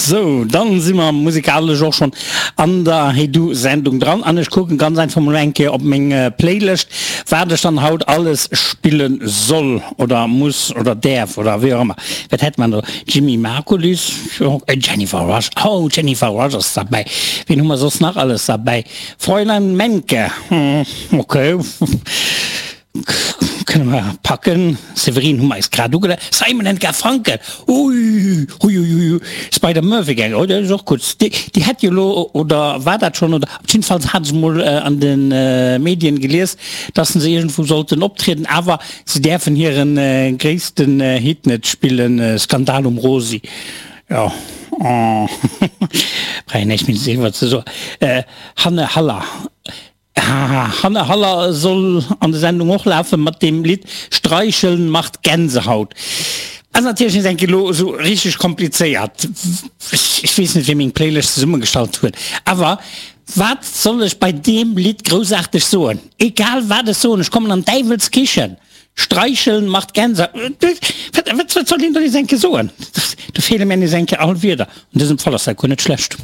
Sou, dann si mer musikalesch och schonn an der Hey Du Sendung dran an ech kucken ganz einfach mol eng Kéier op meng Playlëscht, wat ech dann haut alles spille soll oder muss oder däerf oder wéi och ëmmer. Wat hätt mer do? Jimmy Markulis, jo, Jennifer Rush, oh Jennifer Rush ass derbäi. Wien hu mer soss nach alles derbäi? Fräulein Menke, ok. Kënne mer packen. Séverine hu mer eis grad ugela. Simon and Garfunkel, ui, uiuiui, Spider Murphy Gang, oh dat ass och gutt. Déi, déi hätt jo elo, oder war dat schonn, oder op jiddefalls hat ech mol an de Medien gelies, dass se iergendwou sollten optrieden, awer se däerfen hire gréissten Hit net spillen, Skandal um Rosi. Jo, oh, brauch een näischt méi driwwer ze soen. Hanne Haller. Hanne Haller soll an der Sendung och lafen mat deem Lidd Streicheln macht Gänsehaut. Ass natierlech nees eng Kéier elo esou richteg komplizéiert. Ech weess net wee meng Playlëscht zesummegestallt huet, awer wat soll ech bei deem Lidd groussaarteg soen? Egal wat ech soen, ech kommen an Däiwels Kichen. Streicheln macht Gänsehaut. Wat soll een do nees eng Kéier soen? Do feele mir nees eng Kéier all Wierder. An dësem Fall ass dat guer net schlecht.